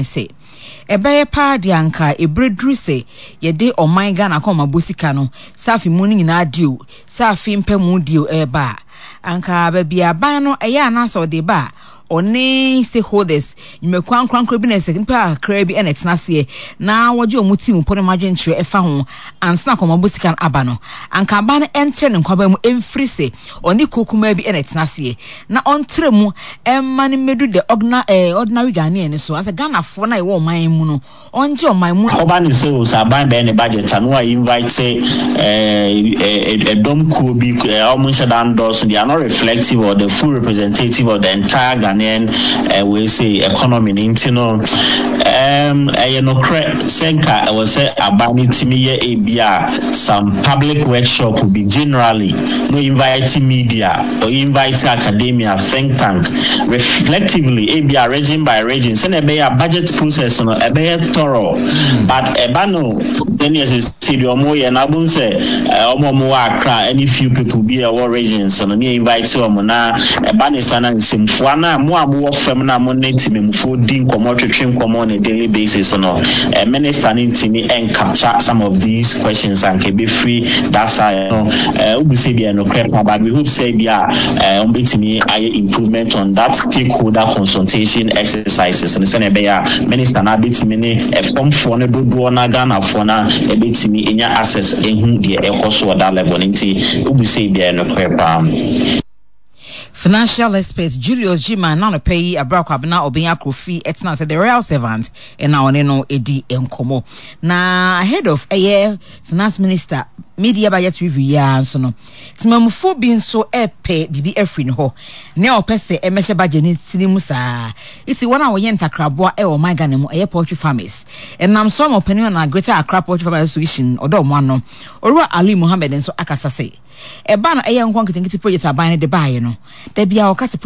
sɛ, ɛbɛyɛ paa deɛ anka ɛberɛ duru sɛ yɛde ɔman Ghana akɔnmabɔ sika no, sɛ afe mu no nyinaa deɛ o, sɛ afe mpɛ mu deɛ o, ɛreba a, anka baabi a aban no ɛyɛ anaasɛ ɔde ba a, ɔne stakeholders, nnwumakuo ankorankoro bi na ɛsɛ nnipa kakraa bi na ɛtena aseɛ na wɔgye wɔn ti mu pɔ ne wɔn adwenkyerɛ ɛfa ho ansa na akɔnmabɔ sika no aba no, anka aban no ɛntrɛ ne nkwaban mu ɛmfiri sɛ ɔne kuo kumaa bi na ɛtena aseɛ na ɔntrɛ mu ɛmma no mmɛdu the ordinary, eh, ordinary Ghanaian no so, asɛ Ghanafoɔ no a yɛwɔ ɔman mu no, ɔngye ɔman mu. Ɔba ne sɛ o sɛ aban bɛyɛ ne budget a na wa invite ɛdɔm kuo bi a wɔn nhyɛ da ndɔɔso, they are not reflective or the full representative of the entire Ghanaian wei sei economy no nti no ɛyɛ nokorɛ sɛ nka ɛwɔ sɛ aban no tumi yɛ ebi a some public workshop bi generally na invite media or invite academia, think tanks, reflectively ebia region by region sɛnea ɛbɛyɛ a budget process no ɛbɛyɛ thorough. But ɛba no sɛnea sɛsɛ deɛ ɔmo yɛ no, abom sɛ ɔmo a ɔmo wɔ Accra ɛne few people bi a ɛwɔ regions no ne invite ɔmo, na ɛba ne sa na nsɛmfua no a mo a mowɔ fam na mo ne temamufoɔ di nkɔmmɔ twetwe nkɔmmɔ on a daily basis no, minister no ntumi ɛncapture some of these questions a nka ɛbɛfiri that side no. Wobu sɛ bia nokorɛ pa, but we hope sɛ bia wɔbɛtumi ayɛ improvement on that stakeholder consultation exercises no sɛnea ɛbɛyɛ a minister no abɛtumi ne ɛfamfoɔ no dodoɔ na Ghanafoɔ no ɛbɛtumi anya access ehu deɛ ɛkɔ so wɔ that level no. Nti wobu sɛ bia nokorɛ paa. Financial expert Julius Gyimah n'anɔpa yi abere Kwabena Obeng Akrofi tena sɛ The Royal Servant na ɔne no di nkɔmmɔ. Na ahead of ɛyɛ finance minister media budget review yi ara nso no, temamufoɔ bi nso repɛ biribi afiri ne hɔ. Nea ɔpɛ sɛ ɛmɛhyɛ budget ne tiri mu saa. Iti wɔn a wɔyɛ ntakraboa ɛwɔ ɔman Ghana mu ɛyɛ poultry farmers. Ɛnam so ama ɔpanin na Greater Accra Poultry Farmers Association ɔdɔ wɔn ano. Owura Ali Mohammed nso akasa sɛ ɛba no ɛyɛ nkɔ nketenkete project aban no de baeɛ no, da biara ɔka sɛ